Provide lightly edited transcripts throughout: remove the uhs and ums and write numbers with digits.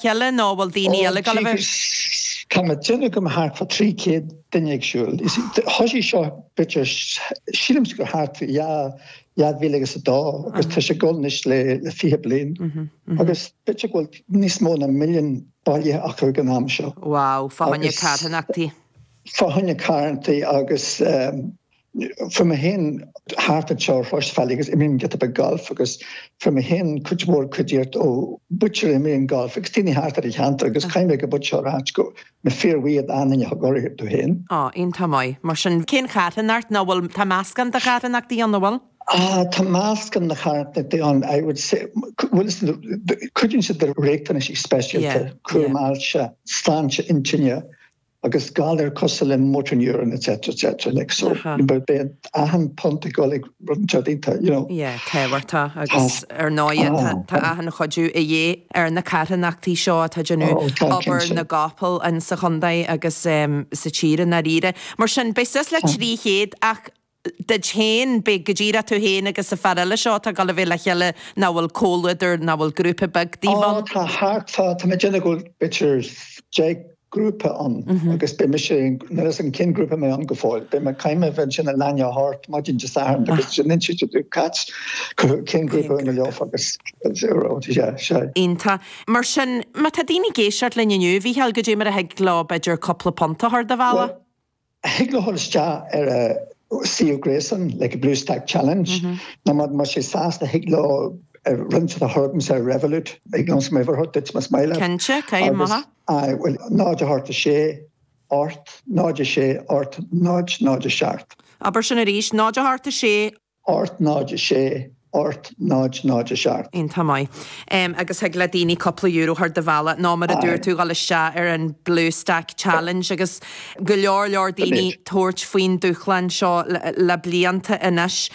chéile nó bhfuil daoine eile ag dul a bheith? Tá mé ag déanamh go mbeidh thart fá 300 duine ag siúl. Thosaigh seo b'fhéidir, sílimse gur thart fá 2002 agus tá sé ag dul anois le 20 bliain agus b'fhéidir go bhfuil níos mó ná milliún bailithe acu ag an am seo. Wow, fá choinne carthanachtaí. Fá choinne carthanachtaí agus fuair mé féin thart anseo ar Chroisbhealaí agus imrím giota beag gailf agus fuair mé féin cuid mhór cuidíocht ó mhuintir a imríonn galf agus daoine thart ar an cheantar agus caithfidh mé go bud seo a ráit go mé fíorbhuíoch d'aon duine a thug urraíocht domh féin. Á, iontach maith. Mar sin, cén charthanacht nó bhfuil, tá meascán de charthanachtaí ann, an bhfuil? Ah, tá meascán de charthanachtaí ann, I would say, bhfuil cuidíonn siad le riachtanais speisialta, cúram ailse, sláinte intinne, agus galair cosúil le motor neuron etc etc like so beidh achan punt ag dul ag rud inteacht iontach you know. Yeah, tábhachtach agus ar ndóighe tá achan chuidiú a dhíth ar na carthanachtaí seo atá ag déanamh obair na gcapall in sa chontae agus sa tír i ndáiríre. Mar sin beidh suas le 300 ach duit féin, beidh go díreach tú féin agus an fear eile seo atá ag dul a bheith le chéile nó bhfuil comhluadar nó bhfuil grúpa beag daoibh ann? Ó tá thart fá, tá mé ag déanamh go bhfuil b'fhéidir 10 grúpa ann agus beidh mise, níl a fhios agam cén grúpa mé ann go fóill, beidh mé, caithfidh mé a bheith ansin ag leath i ndiaidh a hocht maidin Dé Sathairn agus sin inse do Cait cén grúpa a mé leofa agus sea, sea. Iontach. Mar sin, má tá daoine ag éisteacht linn inniu, a Mhícheáil, goidé mar a thig leo b'fhéidir cúpla punt a chur do bhealach? Thig leo dhul isteach ar a suíomh gréasáin, like Bluestack Challenge, nó má tá siad sásta thig leo roinnt a chur chugamsa ar Revolut, thig liomsa m'uimhir a thabhairt duit más maith leat. Cinnte, caithfidh maith. Aye, bhuel, 0 8 6 8 0 6 8 0 0 7. Abair sin arís, 0 8 6. 8 0 6 8 0 0 7. Iontach maith. Agus thig le daoine cúpla euro a chur do bhealach nó mar a dúirt tú dhul isteach ar an Bluestack Challenge agus go leor leor daoine tabhairt faoin dúshlán seo le blianta anois.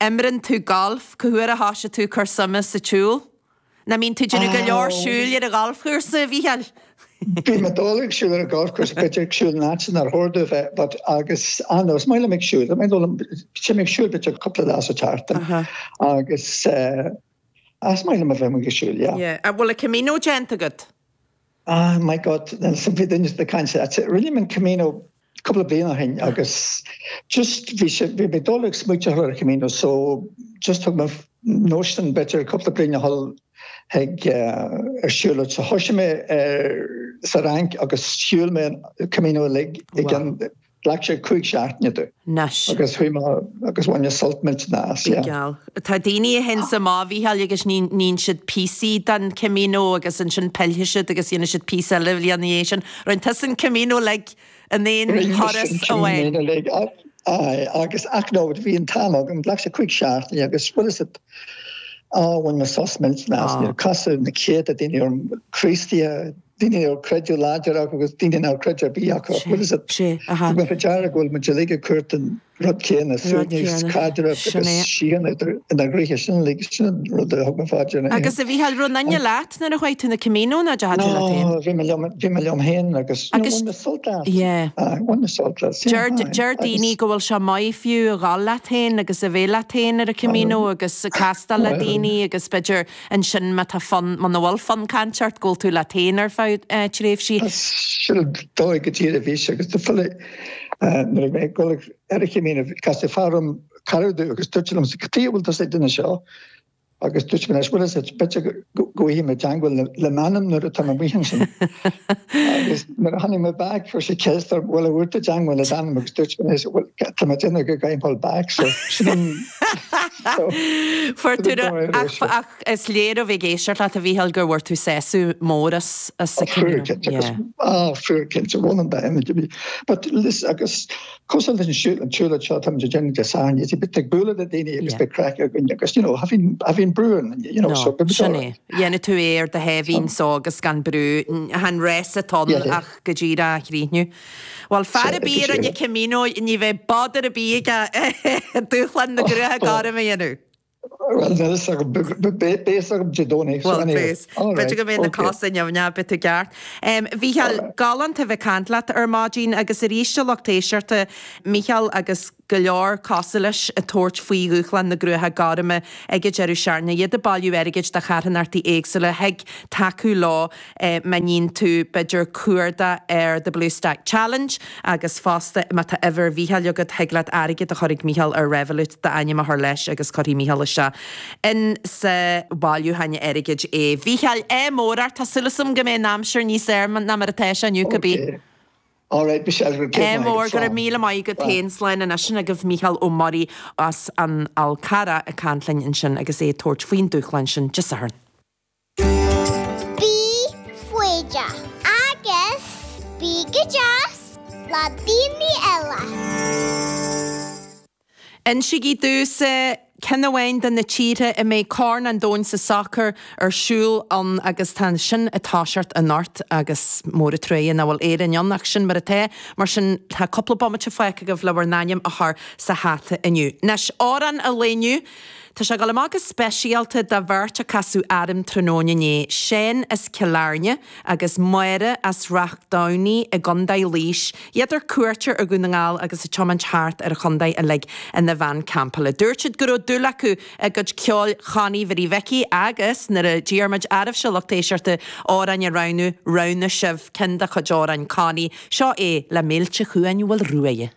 Imreann tú galf, cá huair a thoisigh tú ag cur suime sa tsiúl? Nach mbíonn tú ag déanamh go leor siúil ar an ghalfchúrsa, a Mhícheáil? Bím ag dul ag siúl ar an ghalfchúrsa, b'fhéidir ag siúl in áit nár chóir domh a bheith, but agus, ah no, is maith liom ag siúl, is maith liom, téim ag siúl b'fhéidir cúpla lá sa tseachtain agus eh, is maith liom a bheith amuigh ag siúl, yeah. Yeah. An bhfuil an Camino déanta agat? Ah my God, bhí duine ag caint, rinne mé an Camino cúpla bliain ó shin agus just bhí sé, bhí mé ag dul ag smaoiteamh ar an Camino so just thug mé notion b'fhéidir cúpla bliain a dhul chuig ar siúlóid so thoisigh mé ar sa Fhrainc agus shiúil mé an Camino uilig i gceann Ghlac sé 5 seachtaine domh. Anois. Agus chuaigh mé agus bhain mé sult millteanach as, yeah. Geal. Tá daoine a théanns amach, a Mhícheáil, agus ní níonn siad píosaí den Camino agus ansin pillfidh siad agus dhéanfaidh siad píosa eile bhliain ina dhiaidh sin. Rinne tusa an Camino uilig in aon Rinne mise thuras an amháin. Camino uilig, aye, agus ach no, bhí an t-am agam, ghlac sé 5 seachtaine agus bhfuil fhios agat, á, bhain mé sos millteanach as, níor casadh na céadta daoine orm, Críostaithe, daoine a raibh creideamh láidir acu agus daoine nach raibh creideamh ar bith acu. Bhfuil fhios agat, thug mé faoi deara go bhfuil muid uilig ag cuartú an rud céanna, suaimhneas, caidreamh agus síocháin inár gcroíthe. Sin uilig, sin an rud a thug mé faoi deara. Agus a Mhícheáil, raibh aon duine leat nuair a chuaigh tú na Camino nó deachaigh tú leat féin? No, bhí mé liom, bhí mé liom féin agus you know, bhain mé sult as. Yeah. Bhain mé sult as. Deir, deir daoine go bhfuil sé maith fiú a dhul leat féin agus a bheith leat féin ar an Camino agus castáil le daoine agus b'fhéidir Ansin má tá fonn, muna bhfuil fonn cainte ort, go bhfuil tú leat féin ar feadh tréimhsí. Sin an dóigh go díreach a bhí sé agus do filleadh nuair a bhí mé ag dul ar an Chamino casadh fear orm, cara domh agus dúirt sé liomsa cad chuige a bhfuil tusa ag déanamh seo agus dúirt mé leis bhfuil fhios agat b'fhéidir go bhfaighidh mé teangmháil le m'anam nuair atá mé amuigh ansin. Agus nuair a tháinig mé back chuir sé ceist orm bhuel an bhfuair tú teangmháil le d'anam agus dúirt mé leis bhuel tá mé ag déanamh go gcaithfidh mé dul back so sin an Fuair tú ach is léir ó bheith ag éisteacht leat a Mhícheáil gur bhfuair tú sásamh mór as as an Camino. Yeah. Ah, fuair cinnte, bhain an dá ionad a bhí. But listen, agus cosúil leis an siúl, an tsiúlóid seo táimid ag déanamh Dé Sathairn, you see, beidh ag bualadh le daoine agus beidh craic againn agus, you know, tha bhíonn, tha bhíonn brú ar an duine, you know, so No, sin é. Dhéanfaidh tú é ar do sháimhín só agus gan brú. Chan rás atá ann ach go díreach a chríochnú. Bhuel, fear ar bith a rinne Camino, ní bheidh bother ar bith aige dúshlán na gruaige gorm a dhéanamh. Bhuel, níl fhios agam, beidh fhios agam Dé Domhnaigh, so anyway. Bhuel, beidh. B'fhéidir go mbeidh na cosa nimhneach, beidh tú ceart. Mhícheáil, galánta a bheith ag caint leat ar maidin agus arís a lucht éisteachta, Mícheál agus go leor cosúil leis ag tabhairt faoi dhúshlán na gcruacha gorma ag an deireadh seachtaine, iad ag bailiú airgid do charthanachtaí éagsúla, thig tacú leo má níonn tú, b'fhéidir, cuardach ar The Blue Stack Challenge agus fosta má tá uimhir Mhícheáil agat, thig leat airgead a chur ag Mícheál ar Revolut, d'ainm a chur leis agus cuirfidh Mícheál isteach in sa bhailiúchán airgid é. Mhícheáil, ádh mór ort, tá súil agam go mbeidh an aimsir níos fhearr ná mar atá sé inniu, cibé. All right, Michelle, go raibh Ádh mór, go raibh míle maith agat féin. Slán anois sin agaibh Mícheál Ó Muirí as an Fhál Carrach ag caint linn ansin agus é ag tabhairt faoin dúshlán sin Dé Sathairn. Bí foighdeach agus bí go deas le daoine eile. Insígí domhsa ceann amháin de na tíortha a mbeidh Corn an Domhain sa Sacar ar siúl ann agus tá sin ag toiseacht anocht agus mór an truaighe nach bhfuil Éirinn ann ach sin mar atá. Mar sin tá cúpla bomaite fágtha agaibh le bhur n-ainm a chur sa hata inniu. Anois, amhrán an lae inniu. Tá sé ag dul amach go speisialta do bheirt a casadh orm tráthnóna inné, Seán as Cill Airne agus Máire as Ráth Domhnaigh i gContae Laois, iad ar cuairt ar Dhún na nGall agus ag tiomáint thart ar an chontae uilig ina veain campála. Dúirt siad go raibh dúil acu i gcuid ceoil Chonnie Mhary Mhicí agus nuair a d'iarr muid oraibhse, lucht éisteachta, amhráin a roghnú, roghnaigh sibh ceann de chuid amhráin Connie. Seo é le Mílte Chuain Mhaoil Ruaidhe.